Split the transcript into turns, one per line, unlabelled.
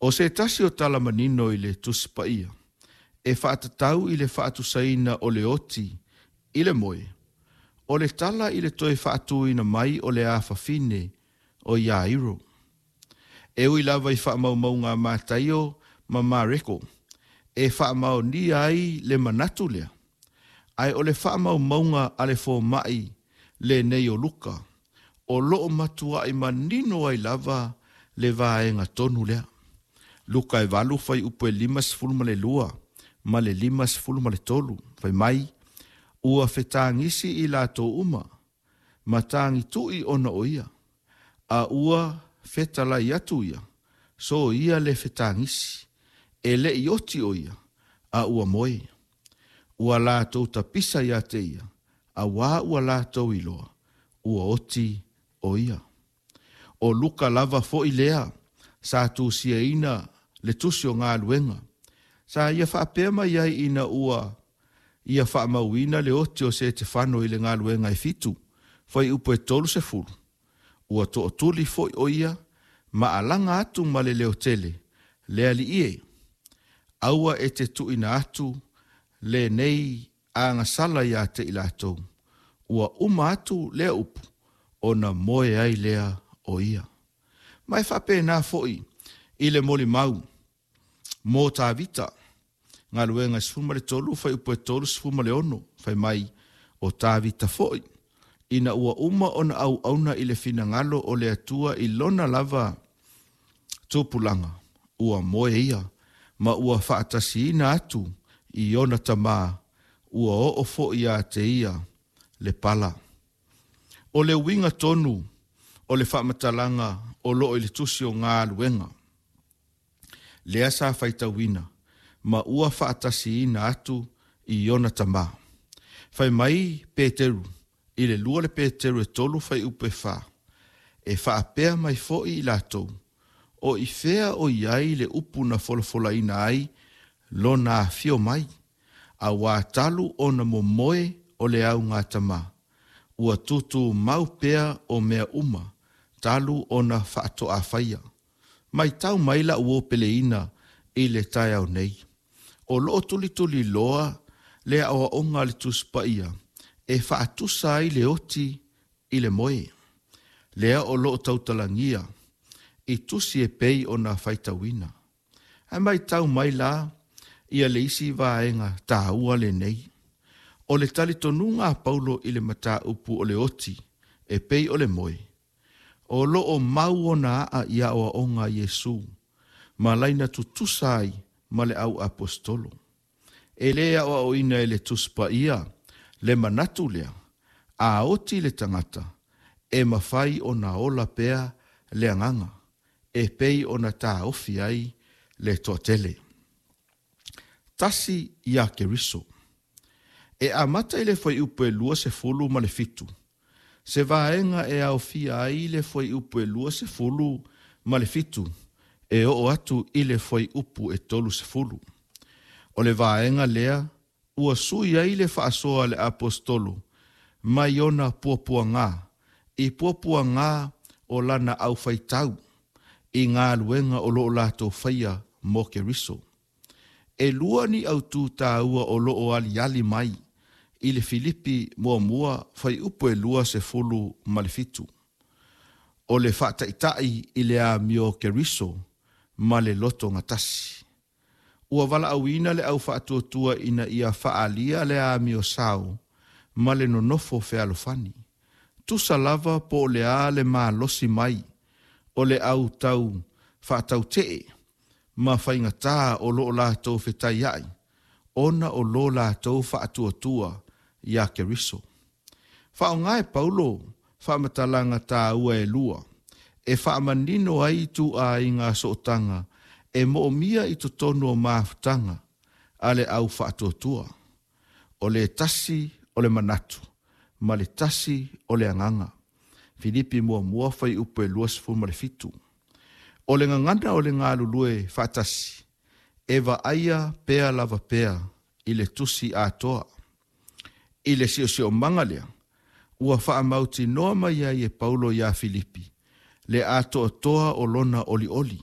O se tasi o tala manino i le Tusi Paia e faatatau i le faatusaina o le oti i le moe, o le tala i le toe faatuina mai o le afafine o Iairo. E ui lava i faamaumauga a Mataio ma Mareko e faamaonia ai le manatu lea, ae o le faamaumauga a le fomai lenei o Luka, o loo matuai manino ai lava le vaega tonu lea. Luka e 8 fuaiupu e 52 ma le 53, fai mai, ua fetagisi i latou uma, ma tagitui ona o ia, a ua fetalai atu ia, so ia le fetagisi, e le i oti o ia, a ua moe. Ua latou tapisa ia te ia, auā ua latou iloa, ua oti o ia. O Luka lava foi lea sa tusiaina le tusi o galuega, sa ia faapea mai ai ina ua ia faamauina le oti o Setefano i le galuega e 7, fuaiupu e 30, ua tootuli foi o ia ma alaga atu ma le leotele, le alii e, aua e te tuuina atu lenei agasala ia te i latou, ua uma atu lea upu, ona moe ai lea o ia. Ma e faapena foi i le molimau mo Tavita, galuega 13, fuaiupu e 36, fai mai, o Tavita foi, ina ua uma ona auauna i le finagalo o le Atua i lona lava tupulaga, ua moe ia, ma ua faatasiina atu i ona tamā, ua oo foi ia te ia le pala. O le uiga tonu o le faamatalaga o loo i le tusi o galuega, lea sa faitauina, ma ua faatasiina atu i ona tamā. Fai mai Peteru, i le 2 le Peteru e 3 fuaiupu e 4, e faapea mai foi i latou, o i fea o i ai le upu na folafolaina ai lona afio mai, auā talu ona momoe o le augatama, ua tutumau pea o mea uma, talu ona faatoafaia. Matau mai lau uo peleina i le taeao nei, o loo tulituliloa le aoaoga a le Tusi Paia e faatusa ai le oti i le moe, lea o loo tautalagia i tusi e pei ona faitauina. Ae matau mai la ia le isi vaega taua lenei, o le talitonuga a Paulo i le mataupu o le oti e pei o le moe, o loo mau ona aa i aoaoga a Iesu, ma laina tutusa ai ma le au apostolo. E le aoaoina e le Tusi Paia le manatu lea, a oti le tagata, e mafai ona ola pea le agaga, e pei ona taofi ai le toatele. Tasi ia Keriso. E amata i le fuaiupu e 27, se vaega e aofia ai le fuaiupu e 27 e oo atu i le fuaiupu e 30. O le vaega lea ua sui ai le faasoa a le apostolo mai ona puapuaga i puapuaga o lana aufaitau i galuega o loo latou faia mo Keriso. E lua ni autū tāua o loo aliali mai i le Filipi 1 fuaiupu e 27. O le faataitai i le amio Keriso ma le loto gatasi. Ua valaauina le au faatuatua ina ia faaalia le amio sao ma le nonofo fealofani. Tusa lava po o le a le malosi mai o le au tau faatautee ma faigatā o loo latou fetaiai, ona o lo latou faatuatua ia Keriso. Faaaoga e Paulo faamatalaga tāua e lua, e faamanino ai ituaiga sootaga e moomia i totonu o mafutaga a le au faatuatua. O le tasi o le manatu, ma le tasi o le agaga. Filipi 1 fuaiupu e 27. O le gagana o le galulue faatasi, e vaaia pea lava pea i le tusi atoa. I le siosiomaga lea, ua faamautinoa mai ai e Paulo ia Filipi, le atoatoa o lona olioli.